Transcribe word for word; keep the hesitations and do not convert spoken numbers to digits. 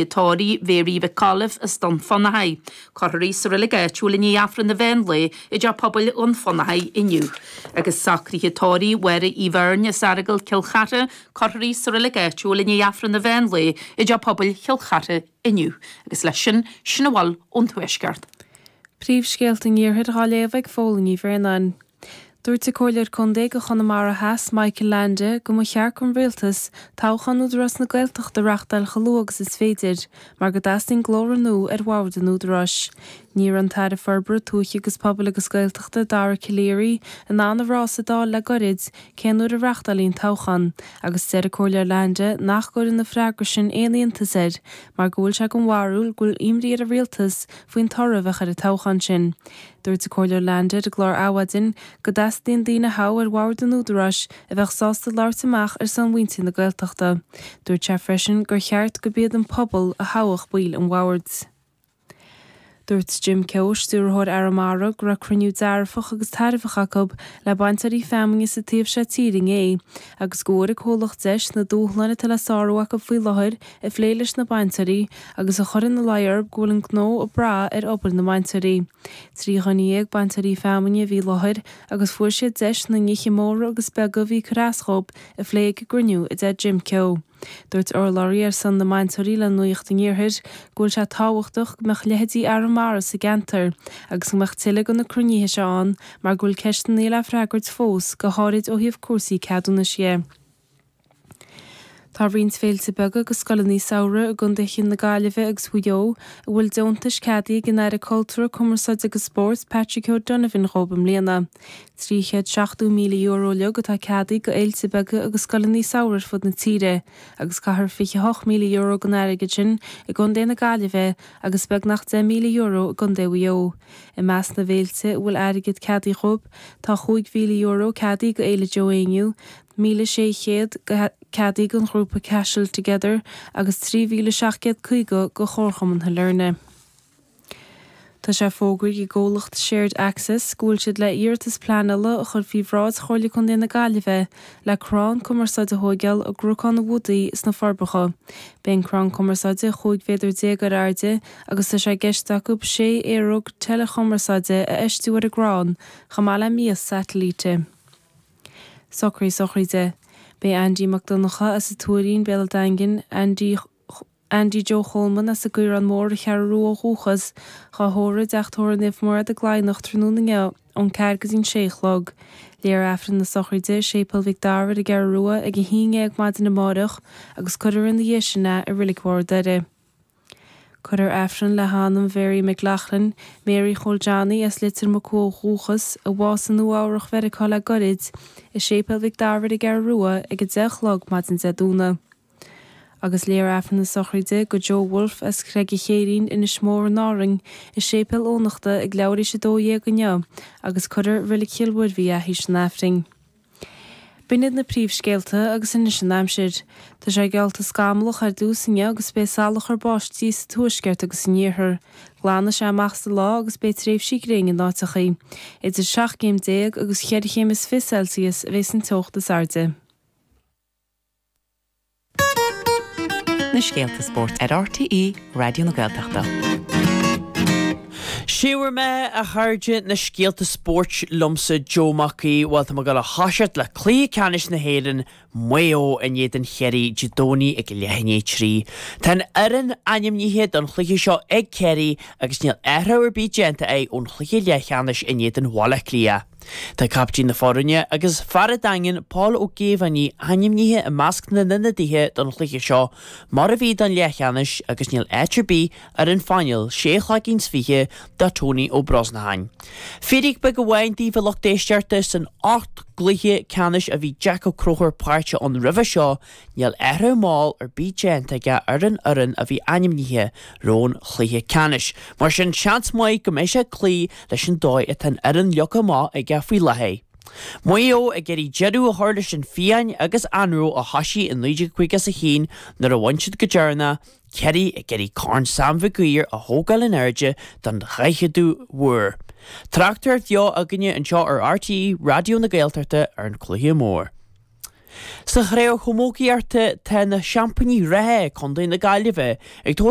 Tórraimh Mhéaraí Mhic Colaimh as Dún Fionnachaidh. Cuirfear í sa reilig áitiúil i ndiaidh Aifreann an mheán lae i dTeach Pobail Dhún Fionnachaidh inniu. Agus socruithe tórraimh Mháire Uí Bheirn as Earagail Cill Chartha, cuirfear í sa reilig áitiúil i ndiaidh Aifreann an mheán lae i dTeach Pobail Chill Chartha inniu. Agus leis sin, sin a bhfuil ón Tuaisceart. Príomhscéalta an Iarthair á léamh ag Fódhla Ní Bhraonáin. Dúirt an Comhairleoir Contae do Chonamara Theas Michael Leainde go mba cheart don rialtas toghchán Údarás na Gaeltachta a reáchtáil chomh luath agus is féidir, mar go dteastaíonn glór nua ar bhord an Údaráis. Ní raibh an tAire Forbartha Tuaithe agus Pobail agus Gaeltachta Dara Calleary in ann a rá sa Dáil le gairid cén uair a reáchtálfaí an toghchán, agus deir an Comhairleoir Leainde nach gcuireann an freagra sin aon iontas air mar go bhfuil sé den bharúil go bhfuil imní ar an rialtas faoin toradh a bheadh ar an toghchán sin. Dúirt an Comhairleoir Leainde ar an gclár Adhmhaidin go dteastaíonn daoine a thoghadh ar bhord an Údaráis a bheadh sásta labhairt amach ar son mhuintir na Gaeltachta. Dúirt sé freisin gur cheart gurb iad an pobal a thoghfadh baill an bhoird. Dúirt Jim Keogh, stiúrthóir Arramara, go raibh cruinniú dearfach agus tairbheach acu le bainteoirí feamainne sa taobh seo tíre inné, agus go bhfuair an comhlacht deis na dúshláin atá le sárú acu faoi láthair a phlé leis na bainteoirí agus a chur ina luí orthu go bhfuil an gnó ag brath ar obair na mbainteoirí. Trí dhuine dhéag bainteoirí feamainne a bhí i láthair agus fuair siad deis na nithe móra agus beaga a bhí ag cur as dhóibh a phlé ag an gcruinniú, a deir Jim Keogh. Dúirt urlabhraí ar son na mbainteoirí le Nuacht an Iarthair go bhfuil sé tábhachtach go mbeadh leithéidí Arramara sa gceantar agus go mbeadh tuilleadh de na cruinnithe seo ann mar go bhfuil ceisteanna le freagairt fós, go háirid ó thaobh cúrsaí ceadúnais dhe. Tá roinnt féilte beaga agus scoileanna samhraidh i gcontaetha na Gaillimhe agus Mhaigh Eo a bhfuil deontais ceadaithe ag an Aire Cultúir, Cumarsáide agus Spóirt Patrick O'Donovan dhóibh i mbliana. Trí chéad seachtó míle euro uilig atá ceadaithe go fhéilte beaga agus scoileanna samhraidh ar fud na tíre agus caithear fiche hocht míle euro den airgead sin i gContae na Gaillimhe agus beagnach deich míle euro i gContae Mhaigh Eo. I measc na bhféilte a bhfuil airgead ceadaithe dhóibh tá chúig mhíle euro ceadaithe go Fhéile Joe Éinniú, míle sé chéad ceadaithe don ghrúpa Cashel Together agus trí mhíle seacht gcéad caoga go Chomharchumann Shailearna. Tá sé fógraithe ag an gcomhlacht Shared Access go bhfuil siad le iarratas pleanála a chur faoi bhráid Chomhairle Contae na Gaillimhe le crann cumarsáide a thóigeáil i gCnocán an Bhudaí sna Forbacha. Beidh an crann cumarsáide chúig mhéadar déag ar airde agus tá sé i gceist acu sé aeróg teileachumarsáide a fheistiú ar an gcrann, chomh maith le mias satailíte. Socruithe sochraide. Beidh Andy Mac Donncha as an Tuairín, Béal an Daingin, Andy Andy Joe Cholman as an gCaorán Mór, an Cheathrú Rua ó dhúchas, dhá thórramh i dTeach Tórraimh Naomh Mairéad i gCladhnach tráthnóna inniu ón ceathair go dtí an sé a chlog. Léifear Aifreann na sochraide i Séipéal Mhic Dara ar an gCeathrú Rua ag a haon dhéag maidin amáireach agus cuirfear ina dhiaidh sin é i Reilig Bharr Doire. Cuirfear Aifreann le hanam Mhary McLaughlin, Mary Chóil Johnny as Leitir Mucú ó dhúchas, a bhásaigh i Nua Eabhrach Mheiriceá le goirid, i Séipéal Mhic Dara ar an gCeathrú Rua ag a deich a chlog maidin Dé Domhnaigh. Agus léifear Aifreann na sochraide go Joe Wolfe as Creag an Chéirín, Inis Mór in Árainn, i Séipéal Eoghanachta ag leathuair théis a dó dhéag inniu agus cuirfear i Reilig Chill Mhuirbhigh é théis an Aifrinn. B'in iad na príomhscéalta agus anois an aimsir. Tá sé geallta scamallach ar dtús inniu agus beidh salachar báistí sa tuaisceart agus san iarthar. Glanfaidh sé amach sa lá agus beidh tréimhsí gréine in áiteachaí. Idir seacht gcéim déag agus cheithre chéim is fiche Celsius a bheas an teocht is airde. Na scéalta spóirt ar RTÉ Raidió na Gaeltachta. Sé bhur mbeatha a chairde, na scéalta spóirt liomsa Joe Mac Aoidh. Bhuel tá muid ag dul a thoiseacht le Cluiche Ceannais na hÉireann, Maigh Eo in éadan Chiarraí Dé Domhnaigh ag leath i ndiaidh a trí. Tá an fhoireann ainmnithe don chluiche seo ag Ciarraí agus níl athrú ar bith déanta acu ón chluiche leathcheannais in éadan Bhaile Átha Cliath. Tá caiptín na foirne agus fear an Daingin, Paul Ó Géibheannaigh, ainmnithe i measc na n-ionadaithe don chluiche seo, mar a bhí don leathcheannais agus níl áit ar bith ar an phainéal sé chloigín 's fiche do Tony Ó Brosnacháin. Fíric beag amháin daoibh a lucht éisteachta, san ocht gcluiche ceannais a bhí Jack Ó Conchúir páirteach ann roimhe seo, Níl athrú mall ar bith déanta aige ar an fhoireann a bhí ainmnithe roimh an chluiche ceannais. Mar sin, seans maith go mbeidh sé ag cloí leis an dóigh atá an fhoireann leagtha amach aige faoi láthair. Maigh Eo ag iarraidh deireadh a chur leis an phian agus anró a thoisigh i naoi déag caoga is a haon nuair a bhain siad go deireanach, Ciarraí ag iarraidh Corn Sam Mhig Uidhir a thógáil in airde don dhaicheadú huair. Tráchtaireacht bheo againne anseo ar RTÉ Raidió na Gaeltachta ar an chluiche mór. Sa chraobh chamógaíochta tá na seaimpíní reatha Contae na Gaillimhe ag tabhairt